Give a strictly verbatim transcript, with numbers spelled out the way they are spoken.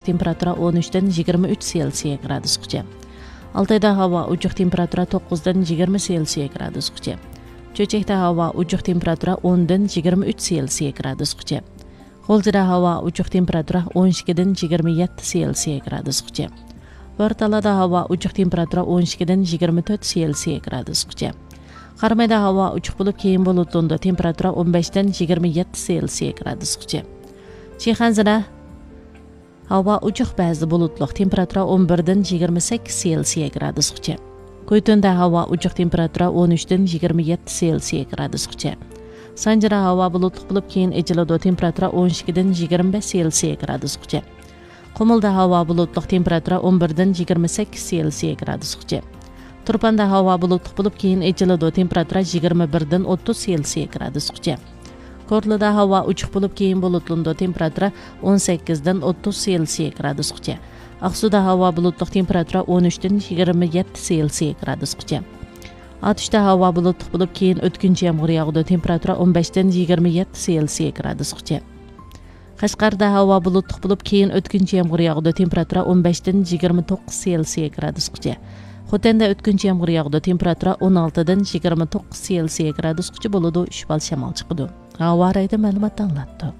تېمپېراتۇرا ئون ئۈچتىن يىگىرمە ئۈچ سېلسىيە گرادۇسقىچە. ئالتايدا ھاۋا ئوچۇق، تېمپېراتۇرا توققۇزدىن يىگىرمە سېلسىيە گرادۇسقىچە. چۆچەكتە ھاۋا ئوچۇق، تېمپېراتۇرا ئوندىن يىگىرمە ئۈچ سېلسىيە گرادۇسقىچە. غۇلجىدا ھاۋا ئوچۇق، تېمپېراتۇرا ئون ئىككىدىن يىگىرمە يەتتە سېلسىيە گرادۇسقىچە. بورتالادا ھاۋا ئوچۇق، تېمپېراتۇرا ئون ئىككىدىن يىگىرمە تۆت سېلسىيە گرادۇسقىچە. قارامايدا ھاۋا ئوچۇق بولۇپ، كېيىن بۇلۇتلىنىدۇ، تېمپېراتۇرا ئون بەشتىن يىگىرمە يەتتە سېلسىيە گرادۇسقىچە. شىخەنزىدە ھاۋا ئوچۇق، بەزىدە بۇلۇتلۇق، تېمپېراتۇرا ئون بىردىن يىگىرمە سەككىز سېلسىيە گرادۇسقىچە. كۇيتۇندە ھاۋا ئوچۇق، تېمپېراتۇرا ئون ئۈچتىن يىگىرمە يەتتە سېلسىيە گرادۇسقىچە. سانجىدا ھاۋا بۇلۇتلۇق بولۇپ، كېيىن ئېچىلىدۇ، تېمپېراتۇرا ئون ئىككىدىن يىگىرمە بەش سېلسىيە گرادۇسقىچە. قۇمۇلدا ھاۋا بۇلۇتلۇق، تېمپېراتۇرا ئون بىردىن يىگىرمە سەككىز سېلسىيە گرادۇسقىچە. تۇرپاندا ھاۋا بۇلۇتلۇق بولۇپ، كېيىن ئېچىلىدۇ، تېمپېراتۇرا يىگىرمە بىردىن ئوتتۇز سېلسىيە گرادۇسقىچە. كورلىدا ھاۋا ئوچۇق بولۇپ، كېيىن بۇلۇتلىنىدۇ، تېمپېراتۇرا ئون سەككىزدىن ئوتتۇز سېلسىيە گرادۇسقىچە. ئاقسۇدا ھاۋا بۇلۇتلۇق، تېمپېراتۇرا ئون ئۈچتىن يىگىرمە يەتتە سېلسىيە گرادۇسقىچە. ئاتۇشتا ھاۋا بۇلۇتلۇق بولۇپ، كېيىن ئۆتكۈنچى يامغۇر ياغىدۇ، تېمپېراتۇرا ئون بەشتىن يىگىرمە يەتتە سېلسىيە گرادۇسقىچە. قەشقەردە ھاۋا بۇلۇتلۇق بولۇپ، كېيىن ئۆتكۈنچى يامغۇر ياغىدۇ، تېمپېراتۇرا ئون بەشتىن يىگىرمە توققۇز سېلسىيە گرادۇسقىچە. خوتەندە ئۆتكۈنچى يامغۇر ياغىدۇ، تېمپېراتۇرا ئون ئالتىدىن يىگىرمە توققۇز سېلسىيە گرادۇسقىچە بولىدۇ، ئۈچ بال شامال چىقىدۇ. ھاۋا رايىدا مەلۇمات ئاڭلاتتۇق.